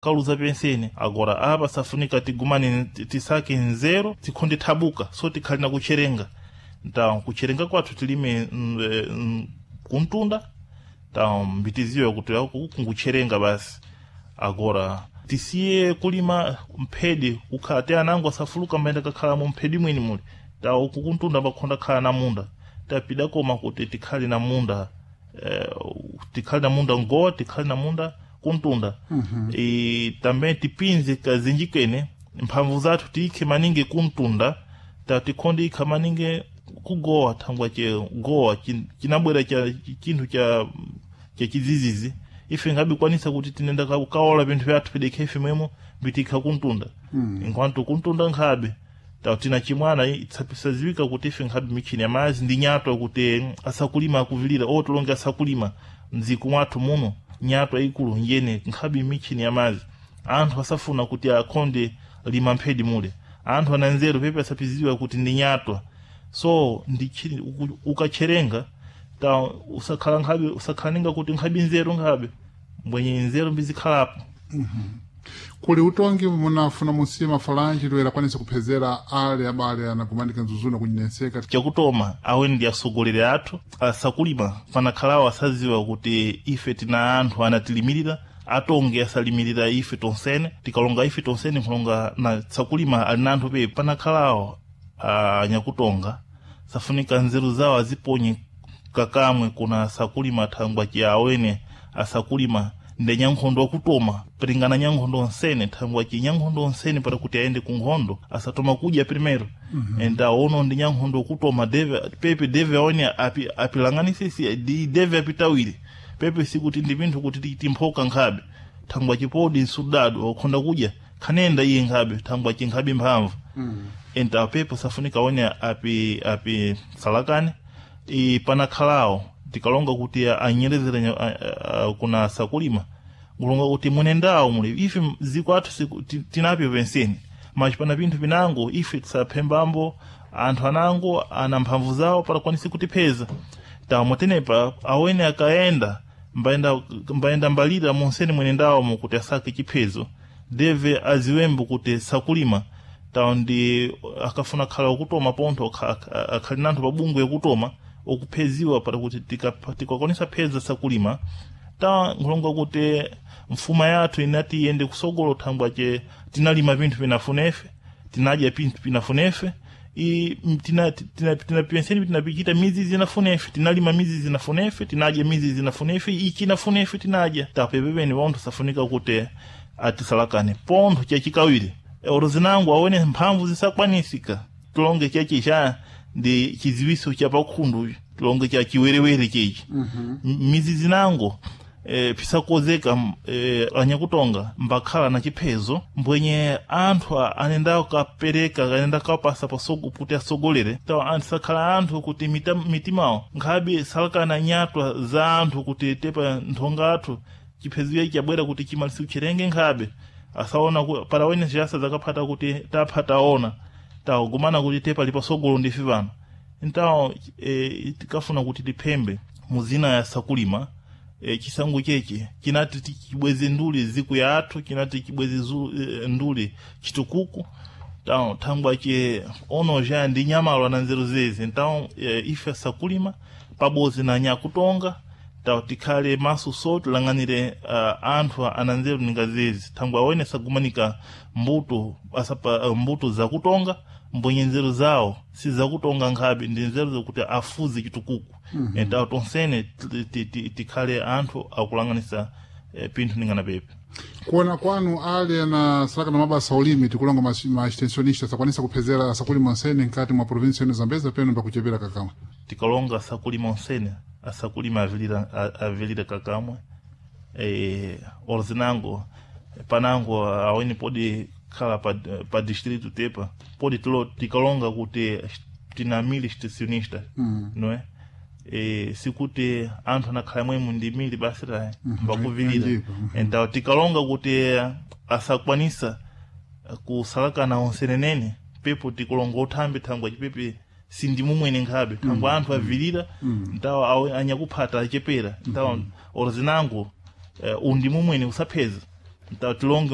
Kaluza pensene agora apa safunika tigumane, tisake nzeru, tikhonde thabuka, so tikhali na kucherenga. Ntawo kucherenga kwathu tilime kuntunda, tawo mbitiziwe kuti kungucherenga basi. Agora tisiye kulima mphedi kukhala te anango asafuluka mbayenda kakhala mu mphedi mwini muli. Tawo uku kuntunda pakhonda khala na munda, tapida koma kuti tikhale na munda, tikhale na munda ngowa, tikhale na munda kuntunda. E, também tipinze kazinji kene mphamvu zathu tiyikhe maningi kuntunda, ta tikhonde ikha maningi kugowa, thangwa che gowa chinabwera cha chinthu cha chizizizi. Ife ngabikwanisa kuti tinenda kaola vinthu vyathu pidekhe ife mwemo mbitikha kuntunda, enquanto kuntunda nkhabe ta tina chimwana isaziwika kuti ife nkhabe michini ya mazi ndi nyatwa kuti asakulima akuvilira o tulonge asakulima mdziko mwathu muno. Nyatwa ikulu njene nkhabe michini ya mazi. Anthu asafuna kuti akhonde lima mphedi mule, anthu ana nzeru pepe asapiziwa kuti ndi nyatwa. So ndi ukacherenga ta usakhala nkhabe, usakhala kuti nkhabe nzeru, nkhabe mbwenye nzeru mbizikhalapo. Kuli utongi munafuna musiye mafalanji toera akwanise kuphezera ale abale anakumanika mzuzuna kunyenseka? Chakutoma awe ndi atsogoleri athu asakulima panakhalawo asaziwa kuti ife tina anthu anatilimirira, atonge asalimirira ife tonsene. Tikalonga ife tonsene nkulonga na tsakulima ali na anthu pepe panakhalawo anyakutonga safunika nzeru zawo aziponye kakamwe kuna sakulima, thangwa ci awene asakulima nde nyankhondo wakutoma piringana nyankhondo onsene, thangwa ci nyankhondo onsene para kuti aende ku nkhondo asatoma kudya primero. Enda ono ndi nyankhondo wakutoma deve pepe deve awene apilanganisisi di deve apitawire pepe, sikuti ndi pinthu kuti timphoka nkhabe, thangwa chipodi nsudado wakhonda kudya khanenda iye nkhabe, thangwa chinkhabe mphamvu. Enta pepe safunika awene api salakane i panakhalawo tikalonga kuti anyerezere kuna sakulima, kulonga kuti munendawo muli ife ziko athu tinapyo penseni machi pana pinthu pinango ife tisaphembambo anthu anango ana mphamvu zawo parakwanise kutipheza. Tamotenepa awene akaenda mbayenda mbalira monsene mwenendawo mukuti asake chiphezo, deve aziwembo kuti sakulima tawo ndi akafuna khala okutoma pontho akhali nanthu pabungwe yakutoma okupheziwa para kuti tikakwanisa pheza sakulima. Ta nkulonga kuti mfuma yathu inati iyende kusogolo thangwa che tinalima pinthu pinafunefe, tinadya pinthu pinafunefe, i tinapenseni tinapichita mizi zinafunefe, tinalima mizi zinafunefe, tinadya mizi zinafunefe, ichi inafunefe tinadya. Tapepepeni wonthu safunika kuti atisalakane pontho. Chachikawiri oro zinango awone mphamvu zisakwanisika, tilonge chechi cha ndi chiziwiso cha pakhundu, tilonge cha chiwerewere chechi. Mizi zinango pisakozeka anyakutonga mbakhala na chiphezo mbwenye anthu anenda kapereka anenda kapasa pasogo kuti asogolere. Tawo anthu sakhala anthu kuti mitimawo nkhabe salakana nyatwa za anthu kuti tepa nthonga athu chiphezo ichi chabwera kuti chimalisi kucherenge nkhabe asaona para wene ziyasa zakaphata kuti tapha taona tawagumana kuti tepa lipasogolo ndife pano. Ntawo tikafuna kuti tiphembe muzina ya sakulima, chisango cheche chinati chibweze nduli ziku ya athu, chinati chibweze nduli chitukuku. Tawo thangwa che ono ja ndi nyamalo na nzeru zezi. Ntawo ife sakulima pabodzi na nyakutonga tawo tikhale maso so tilang'anire anthu ana nzeru ninga zezi, thangwa awene sagumanika mbuto asapa mbuto zakutonga mbwenye nzeru zawo si zakutonga nkhabe, ndi nzeru zakuti afuze chitukuku. Entawo tonsene tikhale anthu akulang'anisa pinthu ningana pepe. Kuona kwanu ale anasalaka na mabasa ulimi, tikulonga ma extensionista, sakwanisa kuphezera asakulima onsene nkati mwa provinsi yenu Zambeza peno pakuchepera kakamwe? Tikalonga asakulima onsene, asakulima avilira kakamwe. Orzinango panango aweni podi khala pa distrito tepa podi tilo tikalonga kuti tina mili extensionista, não é? Sikuti anthu anakhala mwemu ndi mili basi tayi mbakuvilira. Então tikalonga kuti asakwanisa kusalakana onsenenene pepo tikulonga uthambi, thangwa chipepe sindimumwene nkhabe, thangwa anthu avilira ntawo anyakuphata achepera. Ntawo orozinango undimumwene usapheza ntawo tilonge.